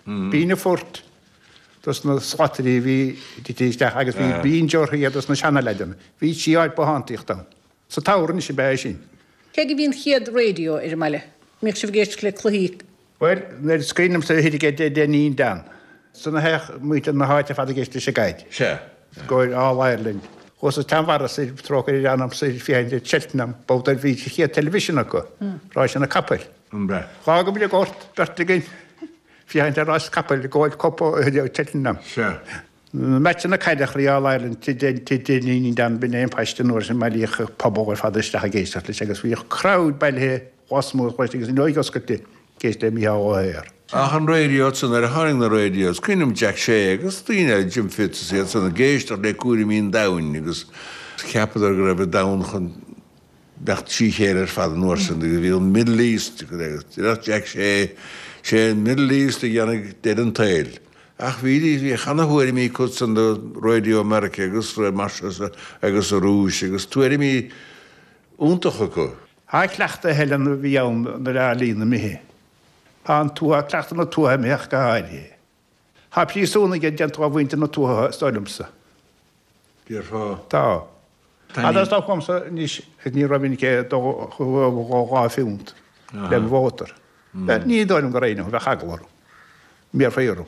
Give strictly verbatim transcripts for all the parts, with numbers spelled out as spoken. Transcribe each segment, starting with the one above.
B'in an phort dos na slatairí a bhí tite isteach agus bhí binge orthu iad dos na seanaleaideanna. Bhí sí áit bothántaíocht ann. Sa tsamhradh anois ab ea é sin. Cé aige a bhí an chéad raidió ar an mbaile? An mbíodh sibh ag éisteacht le cluichí? Bhuel, nuair is cuimhin liomsa thiar ag Dainín Dan. San a théadh muintir na háite ar fad ag éisteacht leis an gcaid. Sea. Scóir All Ireland. Chuas sa tSeanbharra soir, trócaire ar anam soir féachaint ar Cheltenham, babhta ar bhí sa chéad television acu, ráiseanna capaill. An b'ea? Dh'fhágamar an gort, beirt againn, féachaint ar rás capaill, Gold Cup Cheltenham. Sea. Meaitseanna caide chroí All Ireland Tigh Dainín Dan, b'in é an paiste an uair sin, bailíodh an pobal ar fad isteach ag éisteacht leis agus bhíodh crowd bailithe lasmuigh an choláiste agus an fhuinneog oscailte ag éisteacht le Mícheál Ó hEithir. Ach an raidió ansan, nuair a tháinig na radios, cuimhin liom Jack Shea agus daoine eile, Jim Fitz is iad san ag éisteacht le cúraimí an domhain agus cheapadar go raibh an domhan chun beacht trí chéile ar fad an uair sin agus bhí an Middle East agus déarfadh Jack Shea, sé an Middle East a dhéanfaidh deireadh an tsaoil. Ach bhí, bhí ana thuairimí acu san do Radio America agus mar seo agus sa Rúis agus tuairimí iontacha acu. Tá cleachtadh a thuilleann a bhí ann nuair a líon imithe. Tá an tuath, cleachtadh na tuaithe imithe ach go háirithe. Tá príosúnaigh déanta de mhuintir na tuaithe is dóigh liomsa. Déarfá. Tá. Fhad is atá agamsa anois ní raibh in aici dó dhá phunt le mo mhótar. Ní dóigh liom go raibh, bheadh eagla orm. Bhéarfaí orm.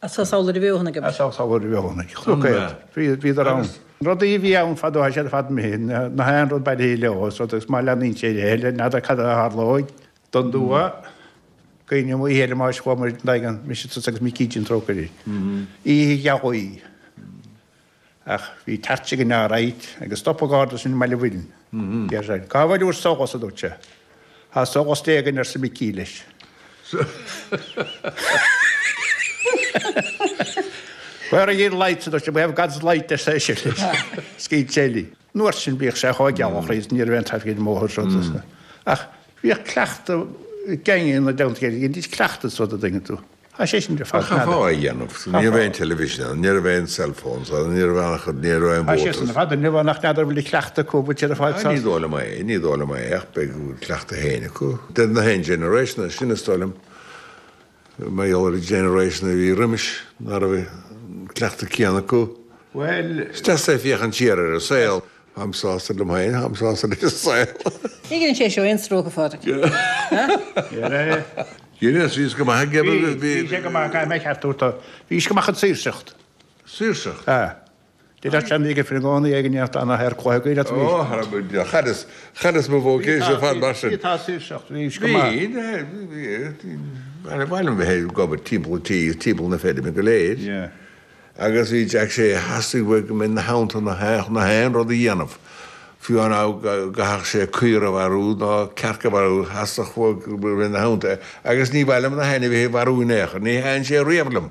As samhail a bheothanaigh agat. As samhail a bheothanaigh. Chonac iad. Bhíodar ann. Rudaí a bhí ann fadó tá siad ar fad imithe. Na haon rud bailithe leo is rud agus má leanaíonn sé ar aghaidh n'fheadar cad a tharlóidh don dtuath. Cuimhním oíche eile más chuamar in aghaidh an mise tusa agus Micí Jim trócaire. Oíche ghealaí. Ach bhí torch againn alright agus stop an garda sin i mBaile Mhuirinn. Deir sé, Cá bhfuil bhur solas, a dúirt sé. Tá solas Dé againn, arsa Micí leis. Where are your lights, a dúirt sé. We have God's light, arsa eisean leis. Scaoil sé linn. An uair sin bhíodh sé chomh geal is ní raibh aon traffic ar an mbóthar is rud. Ach bhíodh cleachtadh gang ina dteannta chéile, dhéanaidís cleachtadh is rud a dtuigeann tú. Tá sé sin ar fad. Chaithfeá é a dhéanamh. Ní raibh aon television ann, ní raibh aon cell phones ann, ní raibh aon chud, ní raibh aon Tá sé mhótars. sin ar fad inniu ann ach n'fheadar bhfuil cleachtadh acu, bhfuil siad ar fad Ní sásta. dóigh liom é, ní dóigh liom é ach beidh cleachtadh féin acu. Deir na haon generation é sin is dóigh liom, mar gheall ar an generation a bhí roimis ná raibh an cleachtadh céanna acu. Bhuel. Is deas é féachaint siar ar an saol. Táim sásta liom féin, táim sásta leis an saol. Ní ghineann sé seo aon stróc, a Phádraig. Ghin, bhí go maith aige. Bhí, bhí sé go maith, caithfidh mé ceart a thabhairt dó. Bhí sé go maith chun saoirseacht. Saoirseacht? Sea. Deir sean ag fir i gcónaí ag an neart ana ar cluiche gaoil at Ó, chailleas, chailleas mo vocation ar fad mar sin. Bhí, tá saoirseacht, bhí sé go maith. Bhí, bhí, ba mhaith liom bheith ag obair timpeall an tí, timpeall na feirme go léir. Yeah. Agus bhí Jack Shea, theastaigh uaidh go mbeinn ina theannta na haon rud a dhéanamh, fiú dá gcaithfeadh sé caora a mharú ná cearc a mharú, theastaigh uaidh go mbeinn ina theannta agus ní mhaith liom na hainmhithe a mharú in aon chor, ní thaitin sé riamh liom.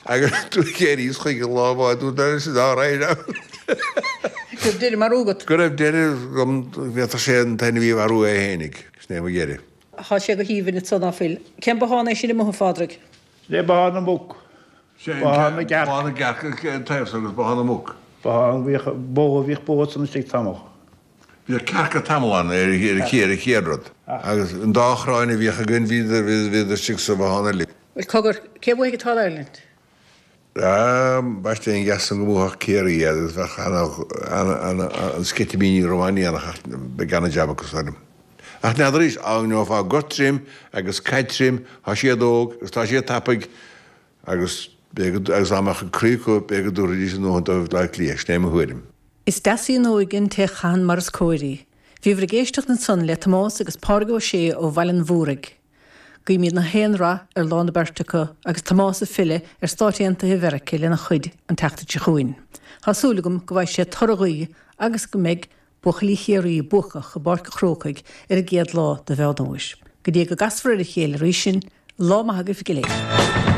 Agus d'éiríos chuige lá amháin, dúirt mé leis, all right now. Go raibh deireadh marú agat. Go raibh deireadh agam, bhféadfadh sé an t-ainmhí a mharú é fhéinig, sin é mo dheireadh. Tá sé go haoibhinn ansan ná fuil. Cén bothán é sin amuigh, a Phádraig? Sin é bothán na muc. Bothán na gcearc. Bothán na gcearc an taobh so agus bothán na muc. Bothán, bhíodh bó, bhíodh bó ansan istigh tamall. Bhíodh cearca tamall ann ar ar an chéad rud. Agus an dá chráin a bhíodh againn bhíodar bhíodar istigh sa bhothán uilig. Bhuel, cogar, cé bhuafaidh an tAll Ireland? Ah, b'aisteach an geas san go mbuafadh Ciarraí iad agus bheadh ana ana ana an sceitimíní romhainn ach beidh ana jab acu is dóigh liom. Ach n'fheadar arís, dá ngeofá gort tirim agus caid tirim, tá siad óg agus tá siad tapaidh agus b'fhéidir go, agus dá mbeadh an croí acu b'fhéidir go dtabharfaidís a ndóthain dóibh Bleá Cliath, sin é mo thuairim. Is deas í an óige an té a chaitheann mar is cóir í. Bhíobhair ag éisteacht ansan le Tomás agus Pádraig Ó Sé ó Bhaile an Mhúraigh. Guímid na haon rath ar lá na beirte acu agus Tomás ag filleadh ar Stáit Aontaithe Mheirice lena chuid an tseachtain seo chugainn. Tá súil agam go bhfaighidh sé toradh ghaoth agus go mbeidh buachaillí Chiarraí buacach i bPáirc an Chrócaigh ar an gcéad lá de Mheán Fhómhair. Go dtí go gcasfar ar a chéile arís sinn, lá maith agaibh go léir.